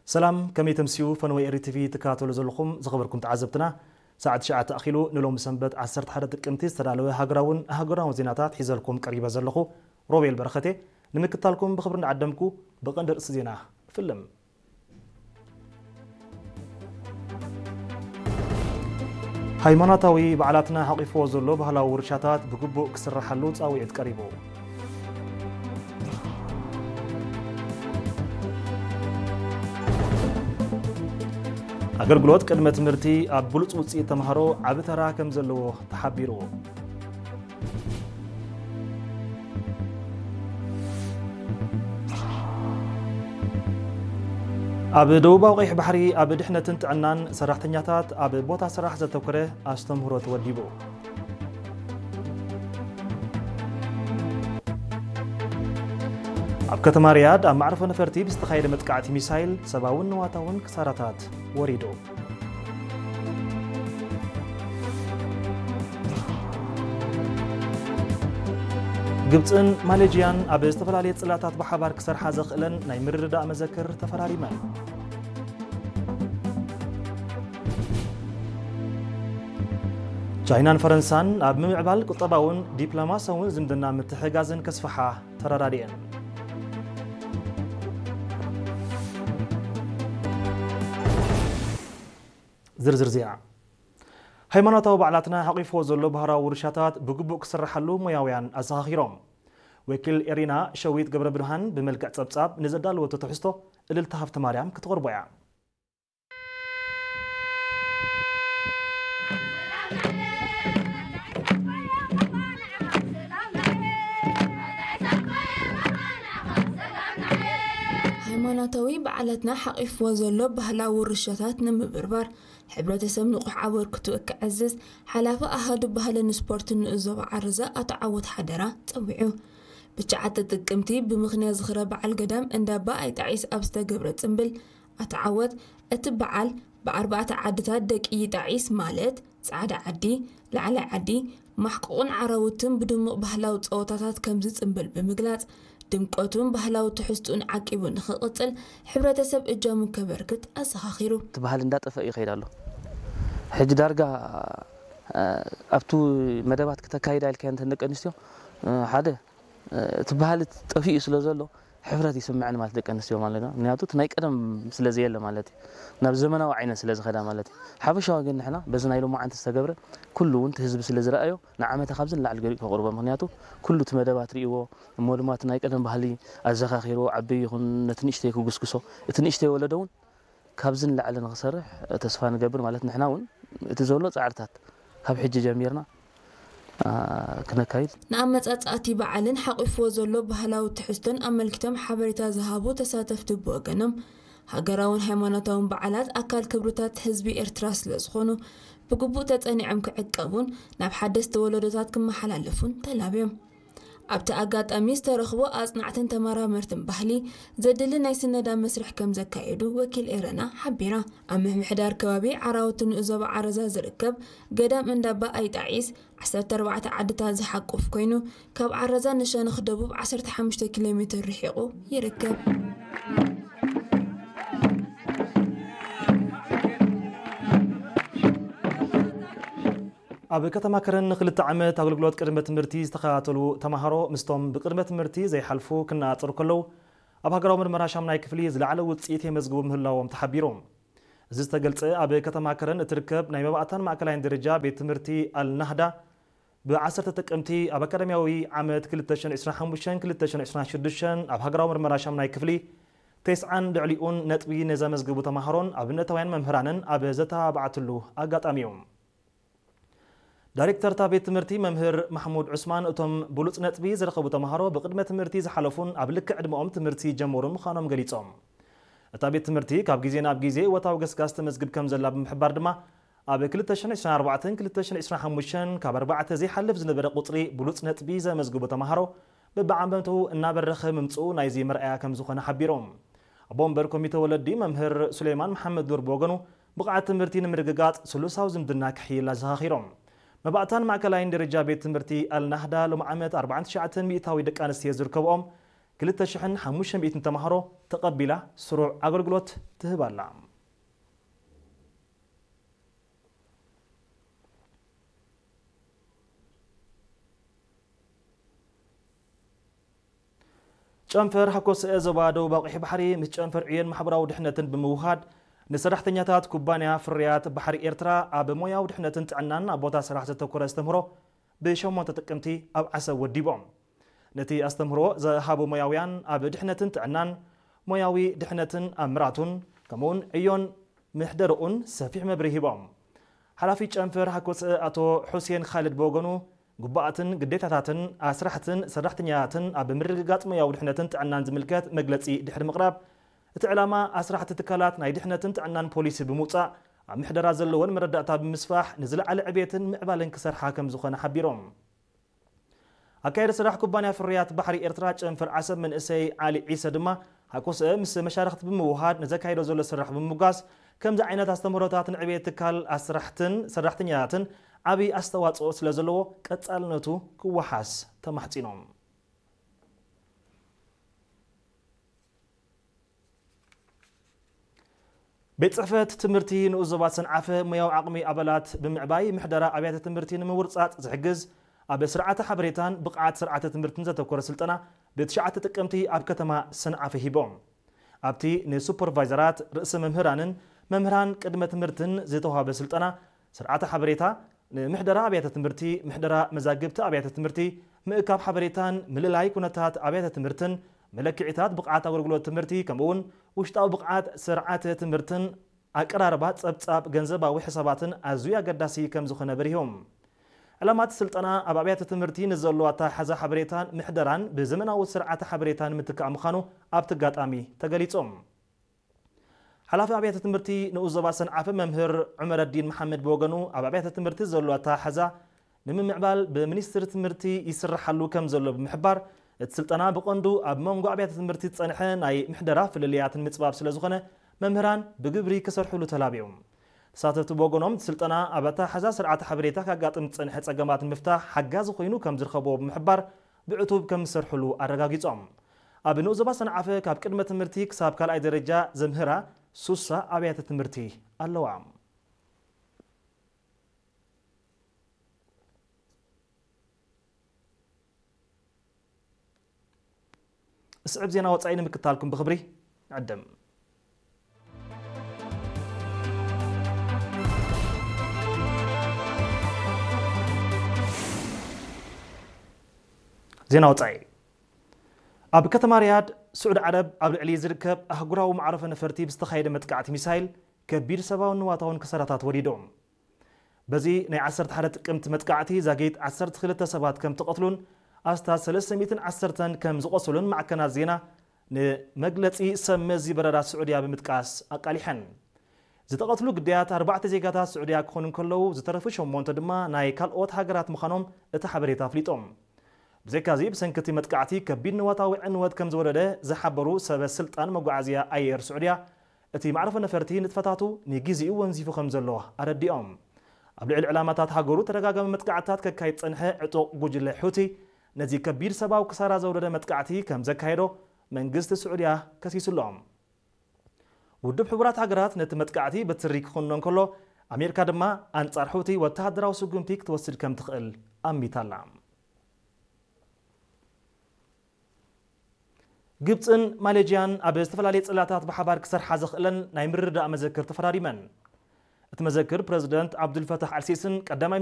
ሰላም፣ ከመይ ተምስዩ? ፈነወ ኤሪ ቲቪ ትከታተሉ ዘለኹም ዝኸበርኩም ተዓዘብትና፣ ሰዓት ትሽዓተ ኣኺሉ ንሎሚ ሰንበት ዓሰርተ ሓደ ጥቅምቲ ዝተዳለወ ሃገራውን ኣህጉራውን ዜናታት ሒዘልኩም ቀሪበ ዘለኹ ሮቤል በረኸቴ። ንምክታልኩም ብኽብሪ እንዳዓደምኩ ብቐንዲ ርእሲ ዜና እፍልም። ሃይማኖታዊ በዓላትና ሓቂፍዎ ዘሎ ባህላዊ ውርሻታት ብግቡእ ክስረሓሉ ጻውዒት ቀሪቡ። ኣገልግሎት ቅድመ ትምህርቲ ኣብ ብሉጽ ውጽኢት ተምሃሮ ዓቢ ተራ ከም ዘለዎ ተሓቢሩ። ኣብ ደቡባዊ ቀይሕ ባሕሪ ኣብ ድሕነትን ጥዕናን ሰራሕተኛታት ኣብ ቦታ ስራሕ ዘተኮረ ኣስተምህሮ ተወዲቡ። ኣብ ከተማ ሪያድ ኣብ ማዕርፎ ነፈርቲ ብዝተኻየደ መጥቃዕቲ ሚሳይል ሰብኣውን ንዋታውን ክሳራታት ወሪዱ። ግብጽን ማሌዥያን ኣብ ዝተፈላለየ ጽላታት ብሓባር ክሰርሓ ዘኽእለን ናይ ምርድዳእ መዘክር ተፈራሪመን። ቻይናን ፈረንሳን ኣብ ምምዕባል ቁጠባውን ዲፕሎማሲያውን ዝምድና ምትሕጋዝን ከስፍሓ ተረዳዲኤን። ዝርዝር ዜና። ሃይማኖታዊ በዓላትና ሓቂፍዎ ዘሎ ባህላዊ ውርሻታት ብግቡእ ክስርሓሉ ሞያውያን ኣዘኻኺሮም። ወኪል ኤሪና ሸዊት ገብረ ብርሃን ብመልክዕ ጸብጻብ ንዘዳለወቶ ትሕዝቶ እልልታ ሃብተ ማርያም ክትቕርቦ እያ። ሃይማኖታዊ በዓላትና ሓቒፍዎ ዘሎ ባህላዊ ውርሻታት ንምብርባር ሕብረተሰብ ንቑሕ ኣበርክትኡ ክዕዝዝ ሓላፊ ኣሃዱ ባህልን ስፖርትን ንኡስ ዞባ ዓረዛ ኣቶ ዓወት ሓደራ ጸዊዑ። ብትሽዓተ ጥቅምቲ ብምኽንያት ዝኽረ በዓል ገዳም እንዳባ ኣይጣዒስ ኣብ ዝተገብረ ጽምብል ኣቶ ዓወት እቲ በዓል ብኣርባዕተ ዓድታት ደቂ ይጣዒስ ማለት ጻዕዳ ዓዲ፣ ላዕላይ ዓዲ፣ ማሕቆቕን ዓራውትን ብድሙቕ ባህላዊ ጸወታታት ከምዚ ጽምብል ብምግላጽ ድምቀቱን ባህላዊ ትሕዝትኡን ዓቂቡ ንኽቕጽል ሕብረተሰብ እጃሙ ከበርክት ኣዘኻኺሩ። እቲ ባህሊ እንዳጠፍአ ይኸይድ ኣሎ። ሕጂ ዳርጋ ኣብቱ መደባት ክተካይዳ ኢልካዮ እንተን ደቂ ኣንስትዮ ሓደ እቲ ባህሊ ጠፊኡ ስለ ዘሎ ሕፍረት ይስምዐን ማለት ደቂ ኣንስትዮ ማለት ነው። ምክንያቱ እቲ ናይ ቀደም ስለ ዘየለ ማለት እዩ። ናብ ዘመናዊ ዓይነት ስለ ዝኸዳ ማለት እዩ። ሓፈሻዊ ግን ንሕና በዚ ናይ ሎማዓንቲ ዝተገብረ ኩሉ እውን እቲ ህዝቢ ስለ ዝረኣዮ ንዓመታ ካብዚ ንላዕሊ ገሪኡ ከቕርቦ። ምክንያቱ ኩሉ እቲ መደባት ርእይዎ እሞ ድማ እቲ ናይ ቀደም ባህሊ ኣዘኻኺርዎ ዓበይ ይኹን ነቲ ንእሽተይ ክጉስጉሶ እቲ ንእሽተይ ወለዶ እውን ካብዚ ንላዕሊ ንኽሰርሕ ተስፋ ንገብር ማለት ንሕና እውን እቲ ዘሎ ጻዕርታት ካብ ሕጂ ጀሚርና ክነካይድ። ንኣመጻጽኣቲ በዓልን ሓቒፍዎ ዘሎ ባህላዊ ትሕዝቶን ኣመልኪቶም ሓበሬታ ዝሃቡ ተሳተፍቲ ብወገኖም ሃገራውን ሃይማኖታውን በዓላት ኣካል ክብርታት ህዝቢ ኤርትራ ስለ ዝኾኑ ብግቡእ ተጸኒዖም ክዕቀቡን ናብ ሓደስቲ ወለዶታት ክመሓላለፉን ተላብዮም። ኣብቲ ኣጋጣሚ ዝተረኽቡ ኣጽናዕትን ተመራመርትን ባህሊ ዘድሊ ናይ ስነዳ መስርሕ ከም ዘካየዱ ወኪል ኤረና ሓቢራ። ኣብ ምምሕዳር ከባቢ ዓራውቲ ንኡስ ዞባ ዓረዛ ዝርከብ ገዳም እንዳባ ኣይጣዒስ ዓሰርተ ኣርባዕተ ዓድታት ዝሓቁፍ ኮይኑ ካብ ዓረዛ ንሸነኽ ደቡብ ዓሰርተ ሓሙሽተ ኪሎ ሜትር ርሒቑ ይርከብ። ኣብ ከተማ ከረን ንክልተ ዓመት ኣገልግሎት ቅድመ ትምህርቲ ዝተኸታተሉ ተምሃሮ ምስቶም ብቅድመ ትምህርቲ ዘይሓልፉ ክነፃፀሩ ከለዉ ኣብ ሃገራዊ ምርመራ ሻምናይ ክፍሊ ዝለዓለ ውፅኢት የመዝግቡ ምህላዎም ተሓቢሩ። እዚ ዝተገልፀ ኣብ ከተማ ከረን እትርከብ ናይ መባእታን ማእከላይን ደረጃ ቤት ትምህርቲ ኣልናህዳ ብ ዓሰርተ ጥቅምቲ ኣብ ኣካዳሚያዊ ዓመት ክልተ ሽሕን ዕስራን ሓሙሽተን ክልተ ሽሕን ዕስራን ሽዱሽተን ኣብ ሃገራዊ ምርመራ ሻምናይ ክፍሊ ተስዓን ልዕሊኡን ነጥቢ ንዘመዝግቡ ተምሃሮን ኣብነታውያን መምህራንን ኣብ ዘተባብዓትሉ ኣጋጣሚ እዩ። ዳይሬክተር እታ ቤት ትምህርቲ መምህር ማሕሙድ ዑስማን እቶም ብሉፅ ነጥቢ ዝረኸቡ ተምሃሮ ብቅድመ ትምህርቲ ዝሓለፉን ኣብ ልክዕ ዕድመኦም ትምህርቲ ዝጀመሩን ምዃኖም ገሊፆም። እታ ቤት ትምህርቲ ካብ ግዜ ናብ ግዜ እወታዊ ገስጋስ ተመዝግብ ከም ዘላ ብምሕባር ድማ ኣብ ክልተ ሽሕን ዕስራን ኣርባዕተን ክልተ ሽሕን ዕስራን ሓሙሽተን ካብ ኣርባዕተ ዘይሓልፍ ዝነበረ ቁፅሪ ብሉፅ ነጥቢ ዘመዝግቡ ተምሃሮ በብዓመቱ እናበረኸ ምምፅኡ ናይዚ መርኣያ ከም ዝኾነ ሓቢሮም። ኣቦ ወንበር ኮሚተ ወለዲ መምህር ሱሌማን መሓመድ ኑር ብወገኑ ብቕዓት ትምህርቲ ንምርግጋፅ ስሉሳዊ ዝምድና ክሕይል ኣዘኻኺሮም። መባእታን ማእከላይን ደረጃ ቤት ትምህርቲ ኣልናህዳ ሎም ዓመት ኣርባዓን ትሽዓተን ሚእታዊ ደቂ ኣንስትዮ ዝርከብኦም ክልተ ሽሕን ሓሙሽተ ሚእትን ተማሃሮ ተቐቢላ ስሩዕ ኣገልግሎት ትህብ ኣላ። ጨንፈር ሃኮስኤ ዞባ ደቡብ ኣቑሒ ባሕሪ ምስ ጨንፈር ዕዮን ማሕበራዊ ድሕነትን ብምውሃድ ንሰራሕተኛታት ኩባንያ ፍርያት ባሕሪ ኤርትራ ኣብ ሞያዊ ድሕነትን ጥዕናን ኣብ ቦታ ስራሕ ዘተኮረ ኣስተምህሮ ብሸሞንተ ጥቅምቲ ኣብ ዓሰብ ወዲቦም። ነቲ ኣስተምህሮ ዝሃቡ ሞያውያን ኣብ ድሕነትን ጥዕናን፣ ሞያዊ ድሕነትን ኣምራቱን፣ ከምኡውን ዕዮን ምሕደርኡን ሰፊሕ መብርሂ ሂቦም። ሓላፊ ጨንፈር ሃኮስኤ ኣቶ ሑሴን ኻልድ ብወገኑ፣ ግቡኣትን ግዴታታትን ኣስራሕትን ሰራሕተኛታትን ኣብ ምርግጋጽ ሞያዊ ድሕነትን ጥዕናን ዝምልከት መግለጺ ድሕሪ ምቕራብ፣ እቲ ዕላማ ኣስራሕቲ ትካላት ናይ ድሕነትን ጥዕናን ፖሊሲ ብምውጻእ፣ ኣብ ምሕደራ ዘለወን መረዳእታ ብምስፋሕ ንዝለዓለ ዕቤትን ምዕባለን ክሰርሓ ከም ዝኾነ ሓቢሮም። ኣካየዲ ስራሕ ኩባንያ ፍርያት ባሕሪ ኤርትራ ጨንፈር ዓሰብ መንእሰይ ዓሊ ዒሰ ድማ፣ ሃኮስኤ ምስ መሻርኽቲ ብምውሃድ ንዘካይዶ ዘሎ ስራሕ ብምምጓስ፣ ከምዚ ዓይነት ኣስተምህሮታት ንዕቤት ትካል ኣስራሕትን ሰራሕተኛታትን ዓብዪ ኣስተዋፅኦ ስለ ዘለዎ ቀጻልነቱ ክወሓስ ተማሕጺኖም። ቤት ጽሕፈት ትምህርቲ ንኡስ ዞባ ሰንዓፈ ሞያዊ ዓቕሚ ኣባላት ብምዕባይ ምሕደራ ኣብያተ ትምህርቲ ንምውርጻጽ ዝሕግዝ ኣብ ስርዓተ ሓበሬታን ብቕዓት ስርዓተ ትምህርትን ዘተኮረ ስልጠና ብትሽዓተ ጥቅምቲ ኣብ ከተማ ሰንዓፈ ሂቦም። ኣብቲ ንሱፐርቫይዘራት፣ ርእሰ መምህራንን መምህራን ቅድመ ትምህርትን ዝተዋህበ ስልጠና፣ ስርዓተ ሓበሬታ ንምሕደራ ኣብያተ ትምህርቲ፣ ምሕደራ መዛግብቲ ኣብያተ ትምህርቲ፣ ምእካብ ሓበሬታን ምልላይ ኩነታት ኣብያተ ትምህርትን፣ መለክዒታት ብቕዓት ኣገልግሎት ትምህርቲ፣ ከምኡውን ውሽጣዊ ብቕዓት ስርዓተ ትምህርትን ኣቀራርባ ጸብጻብ ገንዘባዊ ሕሳባትን ኣዝዩ ኣገዳሲ ከም ዝኾነ በሪሆም። ዕላማት ስልጠና ኣብ ኣብያተ ትምህርቲ ንዘሎ ኣተሓሕዛ ሓበሬታን ምሕደራን ብዘመናዊ ስርዓተ ሓበሬታን ምትካእ ምዃኑ ኣብቲ ኣጋጣሚ ተገሊጾም። ሓላፊ ኣብያተ ትምህርቲ ንኡስ ዞባ ሰንዓፈ መምህር ዑመረዲን መሓመድ ብወገኑ፣ ኣብ ኣብያተ ትምህርቲ ዘሎ ኣተሓሕዛ ንምምዕባል ብሚኒስትሪ ትምህርቲ ይስራሓሉ ከም ዘሎ ብምሕባር፣ እቲ ስልጠና ብቐንዱ ኣብ መንጎ ኣብያተ ትምህርቲ ዝጸንሐ ናይ ምሕደራ ፍልልያት ንምጽባብ ስለ ዝኾነ፣ መምህራን ብግብሪ ክሰርሕሉ ተላብዮም። ተሳተፍቲ ብወገኖም፣ እቲ ስልጠና ኣብ ኣተሓሕዛ ስርዓተ ሓበሬታ ካጋጥም ዝጸንሐ ጸገማት ንምፍታሕ ሓጋዚ ኮይኑ ከም ዝረኸብዎ ብምሕባር፣ ብዕቱብ ከም ዝሰርሕሉ ኣረጋጊጾም። ኣብ ንኡስ ዞባ ሰንዓፈ ካብ ቅድመ ትምህርቲ ክሳብ ካልኣይ ደረጃ ዘምህራ ሱሳ ኣብያተ ትምህርቲ ኣለዋ። እስዕብ ዜና ወጻኢ ንምክታልኩም ብኽብሪ ንዕድም። ዜና ወጻኢ። ኣብ ከተማ ሪያድ ስዑዲ ዓረብ ኣብ ልዕሊ ዝርከብ ኣህጉራዊ መዕረፎ ነፈርቲ ብዝተኻየደ መጥቃዕቲ ሚሳይል ከቢድ ሰብኣውን ንዋታውን ክሳራታት ወሪዶም። በዚ ናይ ዓሰርተ ሓደ ጥቅምቲ መጥቃዕቲ ዛጊት ዓሰርተ ክልተ ሰባት ከም ተቐትሉን ኣስታት ሰለስተ ሚእትን ዓሰርተን ከም ዝቖሰሉን ማዕከናት ዜና ንመግለጺ ሰብ መዚ በረራ ስዑድያ ብምጥቃስ ኣቃሊሐን። ዝተቐትሉ ግዳያት ኣርባዕተ ዜጋታት ስዑድያ ክኾኑ እንከለዉ፣ ዝተረፉ ሸሞንተ ድማ ናይ ካልኦት ሃገራት ምዃኖም እቲ ሓበሬታ ኣፍሊጦም። ብዘይካዚ፣ ብሰንኪ እቲ መጥቃዕቲ ከቢድ ንዋታዊ ዕንወት ከም ዝወረደ ዝሓበሩ ሰበ ስልጣን መጓዓዝያ ኣየር ስዑድያ፣ እቲ መዕረፎ ነፈርቲ ንጥፈታቱ ንግዜኡ ወንዚፉ ከም ዘሎ ኣረዲኦም። ኣብ ልዕሊ ዕላማታት ሃገሩ ተደጋጋሚ መጥቃዕትታት ከካይድ ዝጸንሐ ዕጡቕ ጉጅለ ሑቲ፣ ነዚ ከቢድ ሰብኣዊ ክሳራ ዘውረደ መጥቃዕቲ ከም ዘካየዶ መንግስቲ ስዑድያ ከሲሱ ኣሎ። ውድብ ሕቡራት ሃገራት ነቲ መጥቃዕቲ በትሪ ክኹንኖ እንከሎ፣ ኣሜሪካ ድማ ኣንጻር ሑቲ ወተሃደራዊ ስጉምቲ ክትወስድ ከም ትኽእል ኣሚታ ኣላ። ግብጽን ማሌዥያን ኣብ ዝተፈላለየ ጽላታት ብሓባር ክሰርሓ ዘኽእለን ናይ ምርድዳእ መዘክር ተፈራሪመን። እቲ መዘክር ፕረዚደንት ዓብዱልፈታሕ ኣልሲስን ቀዳማይ